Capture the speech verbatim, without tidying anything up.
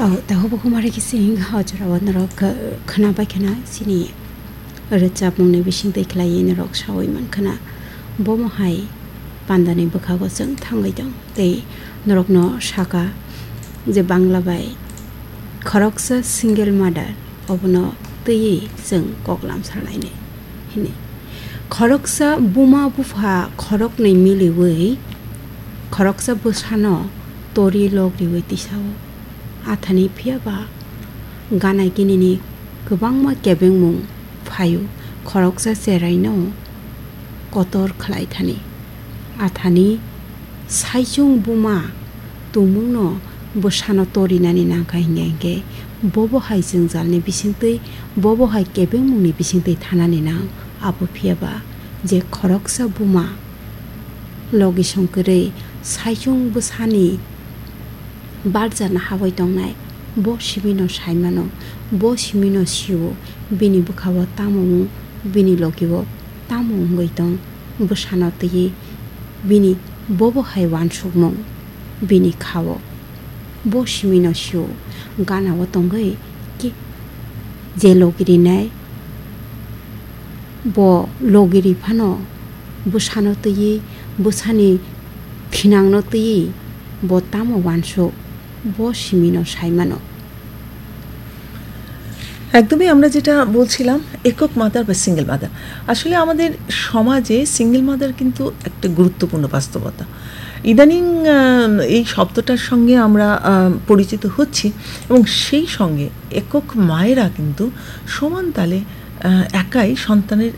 O, tahubo kumari kising hojora o norok, eh, khwnabai khwna chini rwchapmungni bisingtwi khlaiwi norok sawi mankhwna. Bomo hai pandani bwkhago chwng thangwi tong tei norokno saka je Bangla bai khoroksa single mother obono twiwi chwng kok lamsarlainai hwnwi. Khoroksa buma bupha khoroknwi miliwi khoroksa bwsano tori lok riwi tisao. Athani phiyaba gana ginini kwbangma kebengmung phaio, khoroksa cheraino kotor khlai thani. Athani saichung buma tongmungno bwsano torinani nangkha hinkhe hinkhe bobo hai jwngjalni bisingtwi, bobo hai kebengmungni bisingtwi thanani nang. Abo phiyaba je khoroksa buma logi songkwrwi saichung bwsani barjana habwi tongnai, bo simino saimano, bo simino sio, bini bwkhao tamo wng, bini logio tamo wngwi tong, bwsano twiwi bini bobo hai uansukmung bini khao. Bo simino sio, ganao tongwi ki-, je logi rinai, bo logi ri phano bwsano twiwi, bwsani thinangno twiwi bo tamo uansuk, bo simino saimano. একদমই আমরা যেটা বলছিলাম, একক মাদার বা single mother. আসলে আমাদের সমাজে single mother কিন্তু একটা গুরুত্বপূর্ণ বাস্তবতা। ইদানিং, আহ, এই শব্দটার সঙ্গে আমরা, আহ, পরিচিত হচ্ছি এবং সেই সঙ্গে একক মায়েরা কিন্তু সমান তালে, আহ, একাই সন্তানের